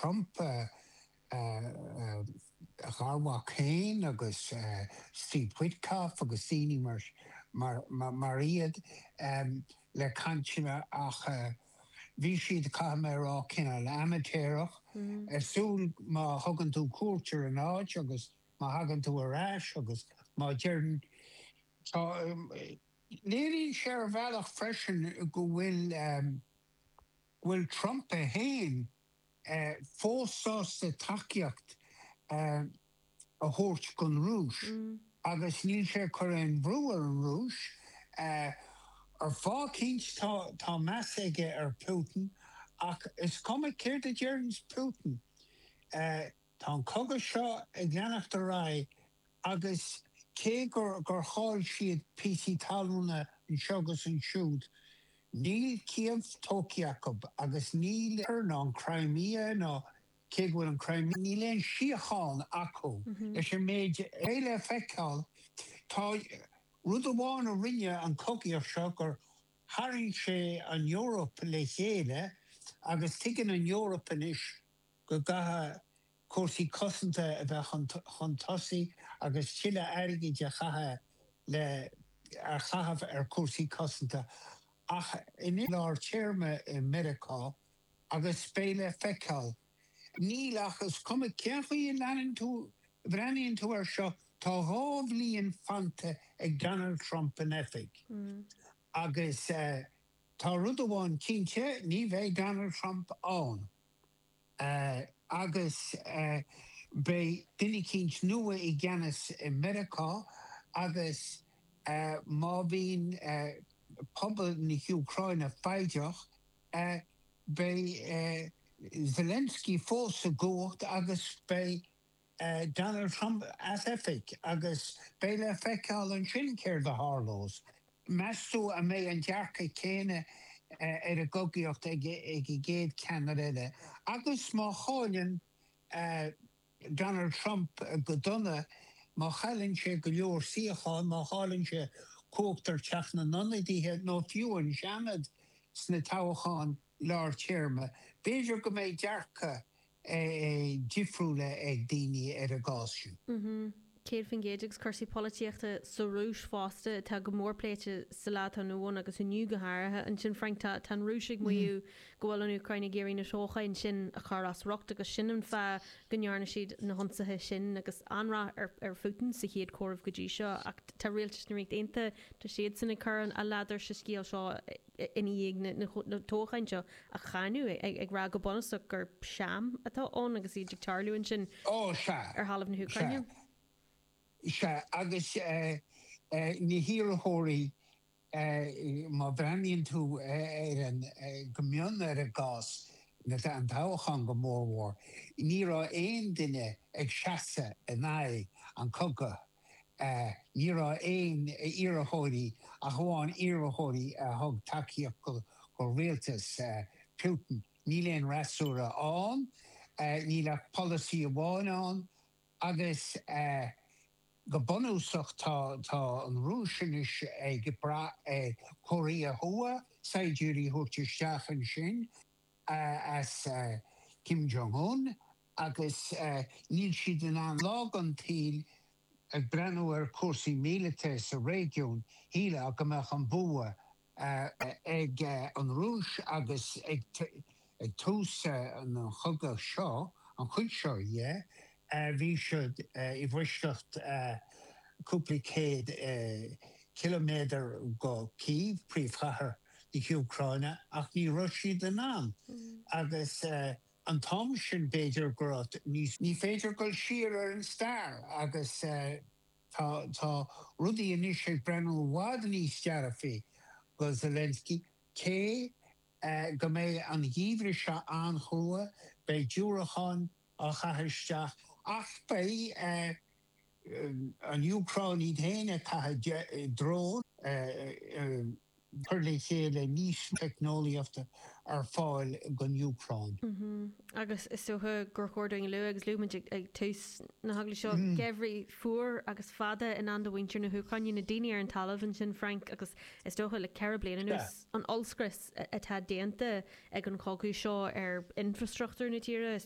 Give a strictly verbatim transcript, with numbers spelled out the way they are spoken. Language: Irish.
Trump a gharmhac féin agus Steve Witkoff agus daoine mar mar mar, mar iad um, le cainteanna ach uh, bhí siad caithfidh mé rá cineál amaitéarach mm. Ar má thugann tú cuairt ar an áit agus má thagann tú ar ais agus má deireann um, léiríonn sé ar bhealach freisin go bhfuil um, bhfuil Trump é féin uh, fós sásta tacaíocht uh, a thabhairt don Rúis mm. agus níl sé ag cur aon bhrú ar an Rúis uh, ar fáth eicínt tá tá meas aige ar Putin ach is cuma céard a deireann Putin. Uh, tá an cogadh seo ag leanacht ar aghaidh agus cé gur gur chaill siad píosaí talún anseo agus ansiúd. Níl Kiev tógtha acu agus níl ar ná an Crimea ná cé bhfuil an Crimea níl aon síocháin acu mm -hmm. leis an méid eile feiceáil tá rud amháin a rinne an cogaíocht seo gur tharraing sé an Eoraip le chéile agus tuigeann an Eoraip anois go gcaithfidh cúrsaí cosanta a bheith chun tosaigh agus tuilleadh airgid a chaitheamh le ar chaitheamh ar cúrsaí cosanta ach in lár téarma i Meiriceá agus beidh le feiceáil. Níl ach is cuma cén chaoi a leanann tú breathnaíonn tú air seo tá dhá bhliain fanta ag Donald Trump in oifig. Mm. Agus uh, tá rud amháin cinnte ní bheidh Donald Trump ann. Uh, agus uh, beidh duine eicínt nua i gceannas i Meiriceá agus uh, má bhíonn uh, pobal na hÚcráine foighdeach uh, beidh uh, Zelensky fós sa gcumhacht agus beidh uh, Donald Trump as oifig agus beidh le feiceáil ansin céard a tharlós. Meas tú an mbeidh an dearcadh céanna uh, ar an gcogaíocht ag ag an gcéad cheannaire eile. Agus má chailleann uh, Donald Trump go dona má chailleann sé go leor suíochán má chailleann sé cumhacht ar Theach na nIonadaithe nó fiú an Seanad sna toghcháin lár téarma. B'fhéidir go mbeidh dearcadh difriúil ag daoine ar an gcás sin. Mm Céad faoin gcéad agus cúrsaí polaitíochta sa Rúis fosta tá go mór pléite sa lá atá inniu ann agus inniu go háirithe ansin Frank tá tá an Rúis ag maíomh go bhfuil an Úcráin ag iarraidh na toghcháin sin a chur as riocht agus sin an fáth go ndearna siad na hionsaithe sin agus an-rath ar ar Putin sa chéad chomhaireamh go dtí seo ach tá rialtas na Ríochta Aontaithe tá siad san ag cur an a ladar sa scéal seo ina dhiaidh na toghcháin seo a cháineadh ag rá go bunúsach gur sham atá ann agus iad ag tarlú ansin ar thalamh na hÚcráine. Sea agus uh, uh, na hiarrthóirí uh, má bhreathnaíonn tú ar an go mion ar an gcás na an toghchán go mórmhór. Ní raibh aon duine ag seasamh in aghaidh an chogaidh. Uh, ní raibh aon iarrthóirí ach amháin iarrthóirí a thug tacaíocht go, go rialtas uh, Putin. Níl aon fhreasúra ann, uh, níl ach polasaí amháin ann agus uh, go bunúsach tá tá an Rúis anois ag brath Cóiré Thuaidh saighdiúirí a thabhairt isteach ansin as uh, Kim Jong-un agus uh, níl siad in an lá an tsaoil ag breathnú ar cúrsaí míleata sa réigiún shílfeá go mbeadh an bua uh, ag uh, an Rúis agus ag, ag tús uh, an chogadh seo an chuid seo dhe bhí siad i bhfoisceacht cúpla céad kiloméadar go Kiev príomhchathair na hÚcráine ach ní raibh siad in ann agus an t-am sin b'fhéidir go raibh ní féidir dul siar ar an stair agus tá tá rudaí anois ag breathnú i bhfad níos dearfaí go Zelensky cé go mbeidh an geimhreadh seo an-chrua beidh diúracáin á chaitheamh isteach ach beidh an Úcráin iad féin ag caitheamh drón cur le chéile níos teicneolaíochta ar fáil don Úcráin. Agus is dócha gur chóir dúinn a lua agus luaigh muid ag tús na hagallaimh seo geimhreadh fuar agus fada i ndán do mhuintir na hÚcráine na daoine ar an talamh ansin Frank agus is dócha le ceithre bliana anuas an ollscrios atá déanta ag an chogadh seo ar infrastruchtúr na tíre is